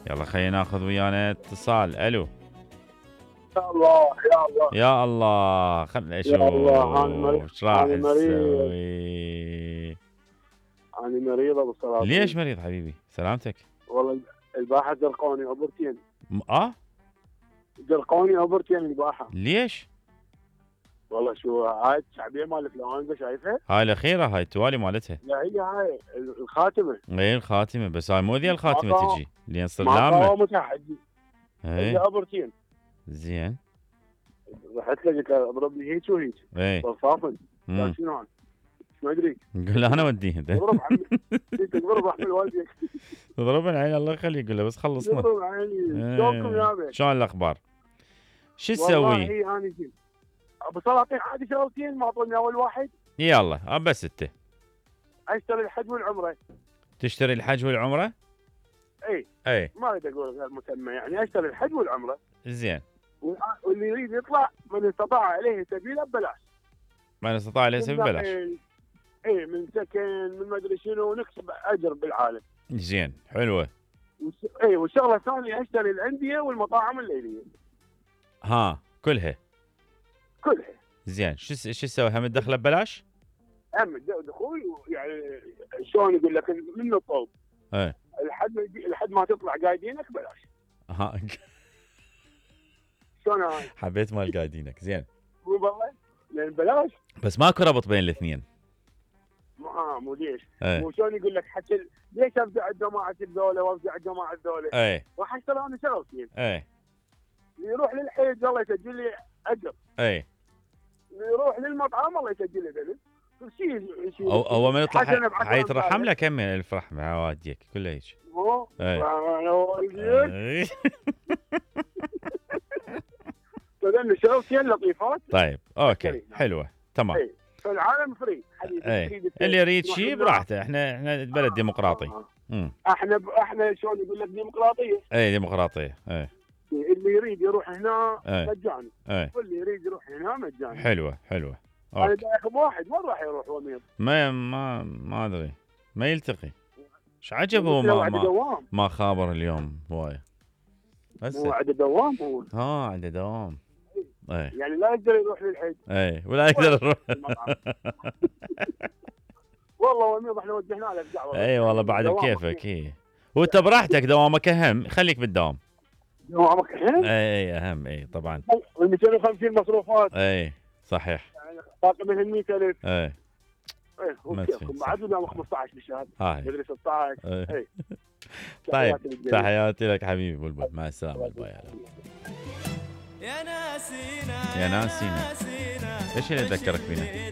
يلا خلينا ناخذ ويانا اتصال. الو. يا الله يا الله يا الله خلنا اشوف ايش راح تسوي. أنا مريض أبو السلاطين. ليش مريض حبيبي؟ سلامتك. والله الباحة زرقوني أوبرتين. زرقوني أوبرتين الباحة. ليش؟ والله شو هاي الشعبية مال الفلانجة شايفها؟ هاي الأخيرة هاي التوالي مالتها. لا هي هاي الخاتمة. اي الخاتمة، بس هاي مو ذي الخاتمة تجي لين تصير ما لامة. قاومتها حجي. اي هي أوبرتين. زين. رحت له قلت له اضرب لي هيك وهيك. اي صافن. قال شنو ما ادري. قول له انا وديه انت. اضرب عمي. اضرب احمل والديك. اضربن عيني الله يخليك، قول له بس خلصنا. اضرب عيني. شلونكم يا بيه؟ شلون الاخبار؟ شو تسوي؟ والله انا جيت. ابو سلاطين عادي شغلتين ما اعطوني اول واحد. يلا بس انت. اشتري الحج والعمره. تشتري الحج والعمره؟ اي ما اريد اقول غير مسمى، يعني اشتري الحج والعمره. زين. واللي يريد يطلع من استطاع عليه سبيله ببلاش. من استطاع عليه سبيله ببلاش. اي من سكن من ما ادري شنو، نكسب اجر بالعالم. زين حلوه. والشغله الثانيه اشتري الانديه والمطاعم الليليه. ها كلها. زين شو تسوي؟ هم تدخله ببلاش؟ هم دخول يعني شلون يقول لك من الطوب. لحد ما تطلع قايدينك بلاش. ها شلون هاي؟ حبيت مال قايدينك. زين. والله لان بلاش. بس ماكو ربط بين الاثنين. مو ليش؟ مو شلون يقول لك حتى ليش افزع الجماعه الذولا وافزع الجماعه الذولا؟ راح اشتغل انا شغلتين. يروح للحيج الله يسجل لي اجر. يروح للمطعم الله يسجل لي دليل. شيء هو من يطلع حيترحم له كم الف رحمه عواديك كله هيك. فذن شغلتين لطيفات. طيب اوكي حلوه تمام. فالعالم فري حبيبي. اللي يريد شيء براحته. احنا بلد ديمقراطي. احنا شلون يقول لك ديمقراطيه. ديمقراطيه. اللي يريد يروح هنا مجاني. واللي يريد يروح هنا مجاني. حلوه. انا دايخ بواحد وين راح يروح وميض؟ ما ادري ما يلتقي. ايش عجب هو ما خابر اليوم هوايه. هو عنده دوام هو. عنده دوام. يعني لا يقدر يروح للحج. ولا يقدر يروح. والله وميض احنا وجهنا له الدعوه. والله بعد بكيفك. وانت براحتك دوامك اهم، خليك بالدوام. دوامك اهم؟ اهم طبعا. وال 250 مصروفات. صحيح. يعني باقي من 100,000. وكيفكم بعد دوام 15 بالشهر. مدري 16. طيب تحياتي لك حبيبي بلبل، مع السلامه. باي. يا ناسينا يا ناسينا. ايش اللي ذكرك فينا؟